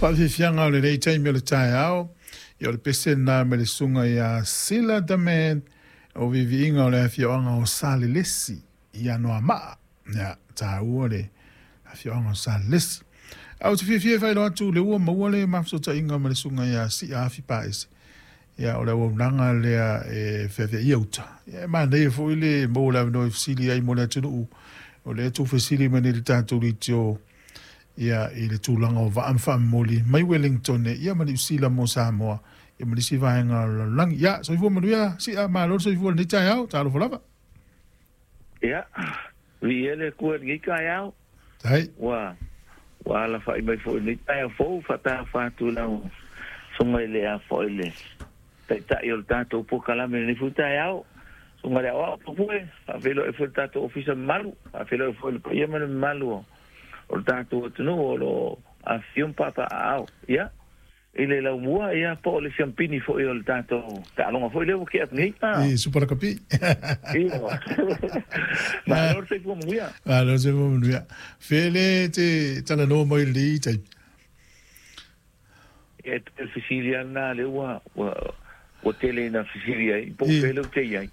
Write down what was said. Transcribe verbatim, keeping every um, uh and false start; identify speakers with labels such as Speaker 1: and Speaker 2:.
Speaker 1: Faafiafiaga o lenei taimi o le taeao. Ia o le pese lena mai le susuga ia Sila Daman o viiviiga o le afioaga o Salelesi i Anoamaa. Ia taua le afioaga o Salelesi. Ae ou te fiafia e faailoa atu le ua maua le mafesootaiga ma le susuga ia Sia Afi Paese. Ia o le auaunaga lea e feaveaia uta. Ia e manaia foi le maua o le avanoa e fesili ai mo le atunuu. O lea e tuufesili mai nei le tatou leitio ia i le tulaga o vaa ma faamomoli mai Wellington ia ma Niu Sila mo Samoa ia ma nisi vaega o le lalolagi. Ia, soifua manuia, Sia, malo le soifua i lenei taeao, talofa lava.
Speaker 2: Ia, viia le Atua i lenei taeao.
Speaker 1: Tai.
Speaker 2: Ua, ua alafai mai foi i lenei taeao fou, faatalofa atu i lau susuga i le a foi le Taitai o le tatou polokalame i lenei foi taeao. Susuga i le Aoao Pupue, faafeiloai foi i le tatou Ofisa mamalu, faafeiloai foi i le paia ma le mamalu o o le tatou atunuu o lo o afifio ma papaaao. Ia, i le laumua, ia, po o le siampini foi o le tatou taaloga foi lea ua tea atu nei.
Speaker 1: I Super Lakapi.
Speaker 2: Ioe. Malo le soifua manuia.
Speaker 1: Malo le soifua manuia. Fea le te talanoa mai i lenei taimi?
Speaker 2: Ia, e pei o le fesili lava lena lea ua, ua, ua tele ina fesili ai, po o fea lea ou te i ai.